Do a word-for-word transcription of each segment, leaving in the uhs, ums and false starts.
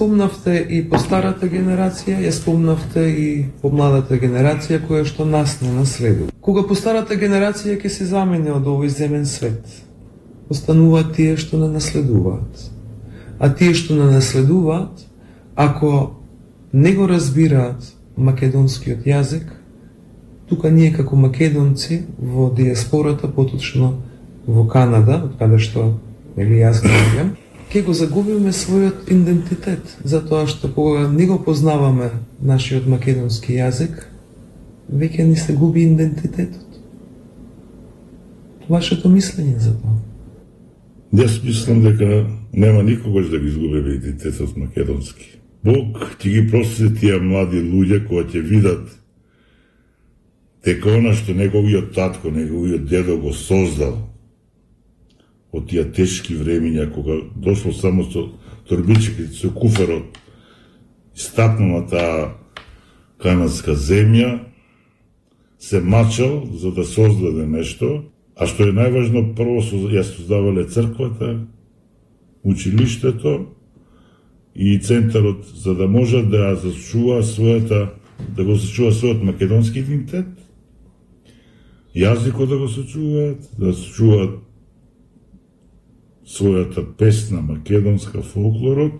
спомнавте и по старата генерација, ја спомнавте и по младата генерација која што нас не наследува. Кога по старата генерација ќе се замени од овој земен свет, остануваат тие што не наследуваат. А тие што не наследуваат, ако не го разбираат македонскиот јазик, тука ние како македонци во диаспората, поточно во Канада, од каде што нели јас доаѓам, ќе го загубиме својот идентитет, затоа што кога не го познаваме нашиот македонски јазик, веќе ни се губи идентитетот. Вашето мислење за тоа? Јас мислам дека нема никогаш да ги изгубиме идентитетот македонски. Бог ќе ги прости тие млади луѓе кои ќе видат дека она што неговиот татко, неговиот дедо го создал од тие тешки времиња, кога дошло само со торбичките, со куферот, стапнал на таа канадска земја, се мачал за да создаде нешто, а што е најважно, прво ја создавале црквата, училиштето и центарот, за да може да ја зачува својата, да го зачува својот македонски идентитет, јазикот да го сочуваат, да сочуваат својата песна македонска, фолклорот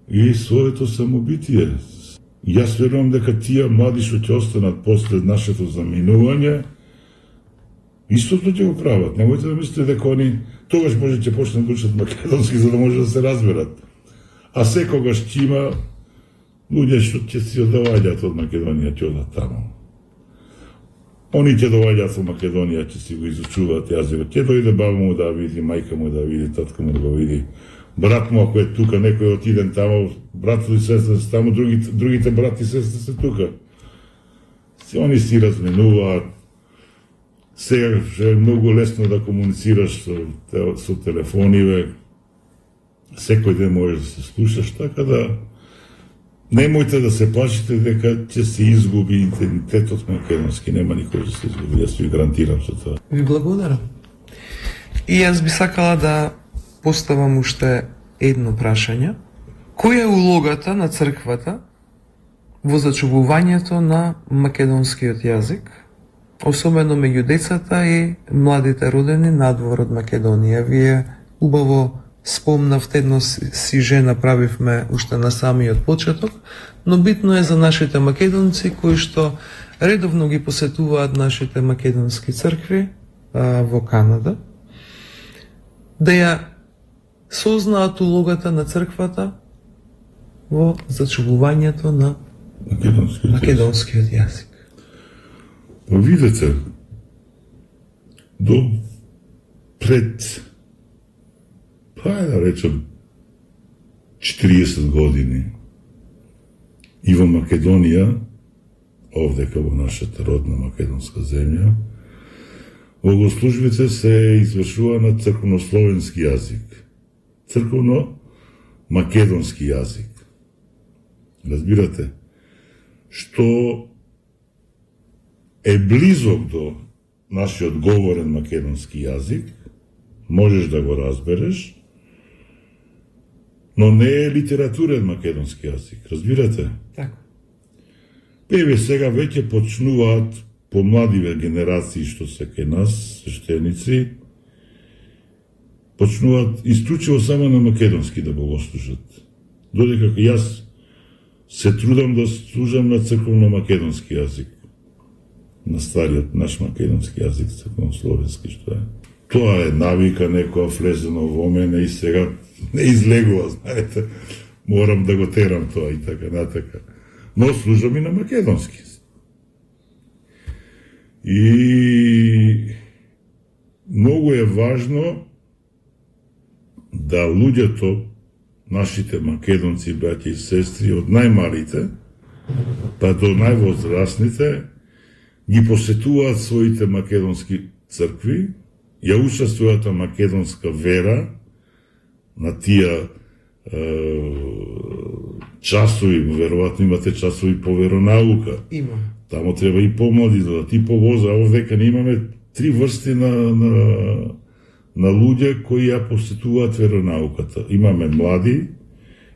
и своето самобитие. Јас верувам дека тие млади што ќе останат после нашето заминување, истото ќе го прават. Немојте да мислите дека они тогаш може ќе почнат да учат македонски за да може да се разберат. А секогаш ќе има луѓе што ќе си одваѓаат од Македонија, ќе одат таму. Они ќе доаѓаат во Македонија, ќе си го изучуваат јазикот. Ќе дојде баба му да види, мајка му да види, татка му да го види. Брат му ако е тука, некој отиден таму, брат и сестра се таму, другите, другите брат и сестра се тука. Си они си разменуваат. Сега е многу лесно да комуницираш со, со телефониве. Секој ден можеш да се слушаш, така да немојте да се плашите дека ќе се изгуби идентитетот македонски, нема никој да се изгуби, јас ви гарантирам со тоа. Ви благодарам. И јас би сакала да поставам уште едно прашање. Која е улогата на црквата во зачувувањето на македонскиот јазик, особено меѓу децата и младите родени надвор од Македонија? Вие убаво спомнавте, едно си же направивме уште на самиот почеток, но битно е за нашите македонци кои што редовно ги посетуваат нашите македонски цркви а, во Канада, да ја сознаат улогата на црквата во зачувувањето на македонскиот, македонскиот јазик. Па видете, до пред, па да речем, четириесет години и во Македонија, овдека во нашата родна македонска земја, богослужбите се извршува на црковнословенски јазик, црковно-македонски јазик. Разбирате, што е близок до нашиот говорен македонски јазик, можеш да го разбереш, но не е литературен македонски јазик, разбирате? Така. Еве сега веќе почнуваат помладиве генерации што се кај нас, свештеници, почнуваат исклучиво само на македонски да богослужат. Додека јас се трудам да служам на црковно-македонски јазик, на стариот наш македонски јазик, црковно-словенски што е. Тоа е навика некоја влезено во мене и сега не излегува, знаете, морам да го терам тоа и така натака. Но служам и на македонски. И многу е важно да луѓето, нашите македонци, браќа и сестри, од најмалите па до највозрастните, ги посетуваат своите македонски цркви, ја учат својата македонска вера на тие е, часови, веројатно имате часови по веронаука. Има. Тамо треба и помлади, да ти повозра. Овдека не имаме три врсти на, на, на луѓе кои ја посетуваат веронауката. Имаме млади,